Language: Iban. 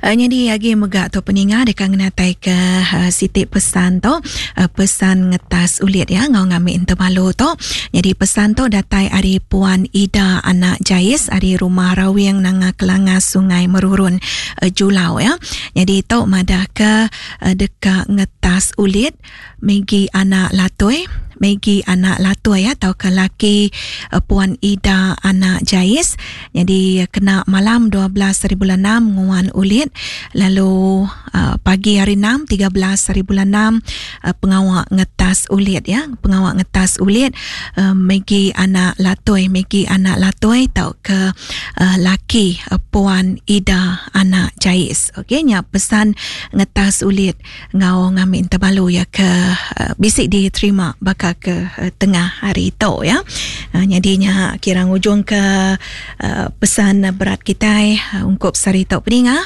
Nyadi agi mega tu peninga deka ngenatai ke siti pesan tu pesan ngetas ulit ya enggau ngambi entebalu tu. Nyadi pesan tu datai ari Puan Ida anak Jais ari Rumah Rawing Nanga Kelangas Sungai Merurun Julau ya. Nyadi tu madah ke deka ngetas ulit Maggie anak Latoi, Maggie anak Latoi ya tauka laki Puan Ida anak Jais. Nyadi kena malam 12 hari bulan 6 nguan ulit lalu uh, pagi hari 6 13 hari bulan 6 uh, pengawa ngetas ulit ya, pengawa ngetas ulit uh, Maggie anak Latoi, Maggie anak Latoi tauka uh, laki uh, Puan Ida anak Jais. Okey nya pesan ngetas ulit enggau ngambi tebalu iya ke bisi diterima baka ke tengah hari tu ya. Nyadi nya kira ngujung ke pesan berat kitai ungkup sehari tu peninga.